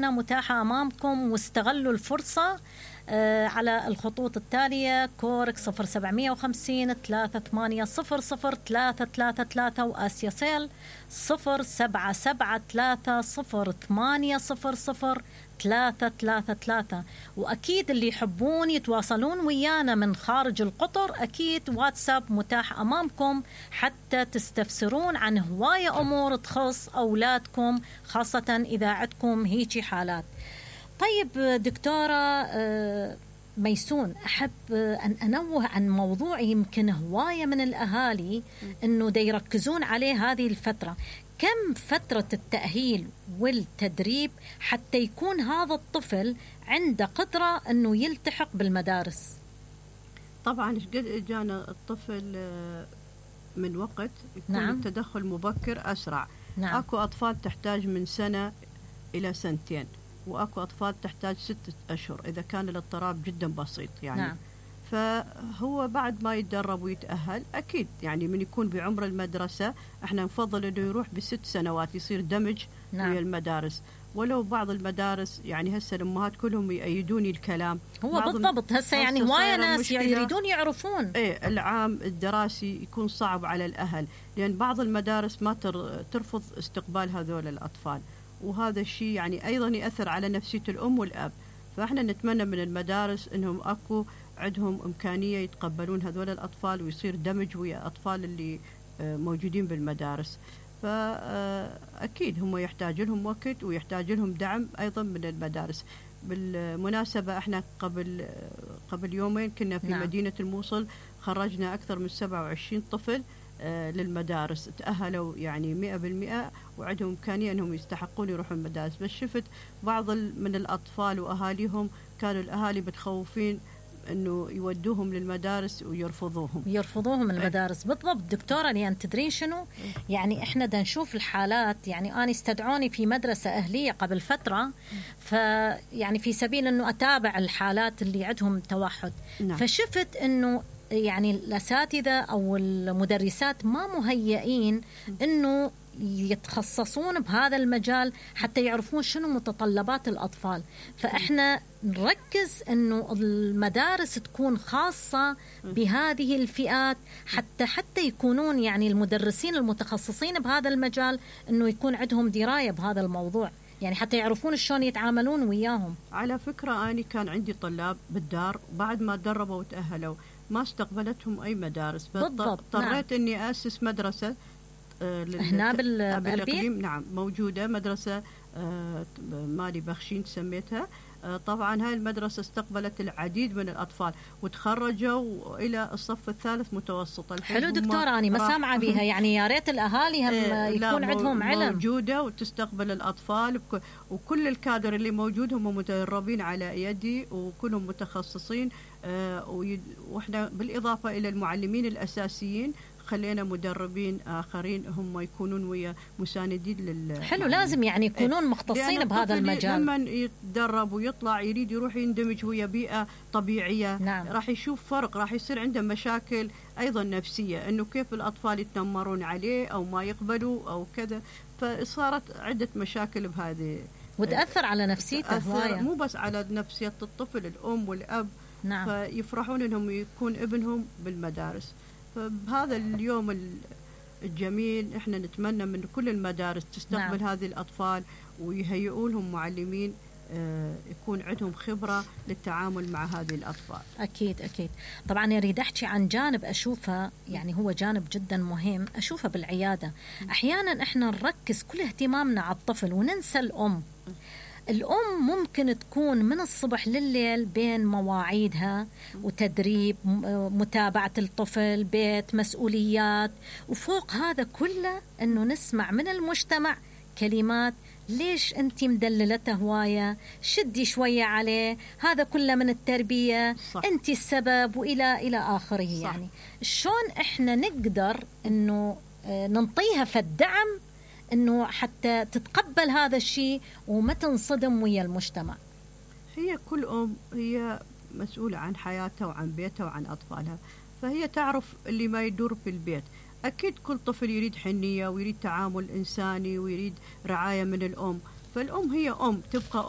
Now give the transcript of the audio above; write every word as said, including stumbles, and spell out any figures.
اهتمامنا متاحة أمامكم، واستغلوا الفرصة على الخطوط التالية: كورك صفر سبعمية وخمسين ثلاثة ثمانية صفر صفر ثلاثة ثلاثة ثلاثة، وآسيا سيل صفر سبعة سبعة ثلاثة صفر ثمانية صفر صفر ثلاثة ثلاثة ثلاثة. وأكيد اللي يحبون يتواصلون ويانا من خارج القطر، أكيد واتساب متاح أمامكم حتى تستفسرون عن هواية أمور تخص أولادكم، خاصة إذا عندكم هيجي حالات. طيب دكتورة ميسون، أحب أن أنوه عن موضوع يمكن هواية من الأهالي أنه دا يركزون عليه هذه الفترة. كم فترة التأهيل والتدريب حتى يكون هذا الطفل عنده قدرة أنه يلتحق بالمدارس؟ طبعا قد جانا الطفل من وقت يكون نعم. التدخل مبكر أسرع. نعم. أكو أطفال تحتاج من سنة إلى سنتين، وأكو أطفال تحتاج ستة أشهر إذا كان الاضطراب جدا بسيط يعني. نعم. فهو بعد ما يتدرب ويتأهل أكيد يعني من يكون بعمر المدرسة احنا نفضل انه يروح بست سنوات يصير دمج. نعم. ويا المدارس. ولو بعض المدارس يعني هسه الأمهات كلهم يأيدوني الكلام، هو بالضبط هسه يعني هواية ناس يريدون يعرفون ايه العام الدراسي يكون صعب على الأهل، لأن بعض المدارس ما ترفض استقبال هذول الأطفال، وهذا الشيء يعني أيضا يأثر على نفسية الأم والأب. فإحنا نتمنى من المدارس إنهم أكو عندهم إمكانية يتقبلون هذول الأطفال ويصير دمج ويا أطفال اللي موجودين بالمدارس. فأكيد هم يحتاج لهم وقت ويحتاج لهم دعم أيضا من المدارس. بالمناسبة احنا قبل قبل يومين كنا في نعم. مدينة الموصل خرجنا أكثر من سبعة وعشرين طفل للمدارس، تأهلوا يعني مئة بالمئة وعندهم إمكانية أنهم يستحقون يروحوا المدارس. بس شفت بعض من الأطفال وأهاليهم كانوا الأهالي متخوفين أنه يودوهم للمدارس ويرفضوهم يرفضوهم من المدارس. بالضبط دكتورة، لأن تدرين شنو يعني إحنا دا نشوف الحالات. يعني أنا استدعوني في مدرسة أهلية قبل فترة، فيعني في سبيل أنه أتابع الحالات اللي عندهم توحد. نعم. فشفت أنه يعني الأساتذة أو المدرسات ما مهيئين أنه يتخصصون بهذا المجال حتى يعرفون شنو متطلبات الأطفال. فإحنا نركز أنه المدارس تكون خاصة بهذه الفئات حتى حتى يكونون يعني المدرسين المتخصصين بهذا المجال أنه يكون عندهم دراية بهذا الموضوع، يعني حتى يعرفون شلون يتعاملون وياهم. على فكرة أنا كان عندي طلاب بالدار بعد ما تدربوا وتأهلوا ما استقبلتهم أي مدارس، اضطريت نعم. أني أسس مدرسة هنا بالإقليم. نعم موجودة مدرسة مالي بخشين سميتها. طبعا هاي المدرسة استقبلت العديد من الأطفال وتخرجوا إلى الصف الثالث متوسط. حلو دكتورة، أنا ما سامعة بها يعني، يا ريت الأهالي هم يكون عندهم علم. موجودة وتستقبل الأطفال وكل الكادر اللي موجود هم متدربين على يدي وكلهم متخصصين. وإحنا بالإضافة إلى المعلمين الأساسيين خلينا مدربين آخرين هم يكونون ويا مساندين لل. حلو، لازم يعني يكونون مختصين بهذا المجال. لما يتدرب ويطلع يريد يروح يندمج ويا بيئة طبيعية. نعم. راح يشوف فرق، راح يصير عنده مشاكل أيضا نفسية، إنه كيف الأطفال يتنمرون عليه أو ما يقبلوا أو كذا. فصارت عدة مشاكل بهذه وتأثر على نفسيته هواية، مو بس على نفسية الطفل، الأم والأب. نعم. فيفرحون إنهم يكون ابنهم بالمدارس. فبهذا اليوم الجميل احنا نتمنى من كل المدارس تستقبل نعم. هذه الأطفال ويهيئوا لهم معلمين اه يكون عندهم خبرة للتعامل مع هذه الأطفال. أكيد أكيد. طبعا أريد أحكي عن جانب أشوفه يعني هو جانب جدا مهم أشوفه بالعيادة. أحيانا احنا نركز كل اهتمامنا على الطفل وننسى الأم. الأم ممكن تكون من الصبح لليل بين مواعيدها وتدريب، متابعة الطفل، بيت، مسؤوليات، وفوق هذا كله أنه نسمع من المجتمع كلمات: ليش أنت مدللته هواية؟ شدي شوية عليه، هذا كله من التربية. صح. أنت السبب، وإلى إلى آخره. صح. يعني شلون إحنا نقدر أنه ننطيها في الدعم إنه حتى تتقبل هذا الشيء وما تنصدم ويا المجتمع؟ هي كل أم هي مسؤولة عن حياتها وعن بيتها وعن أطفالها، فهي تعرف اللي ما يدور في البيت. أكيد كل طفل يريد حنية ويريد تعامل إنساني ويريد رعاية من الأم، فالأم هي أم تبقى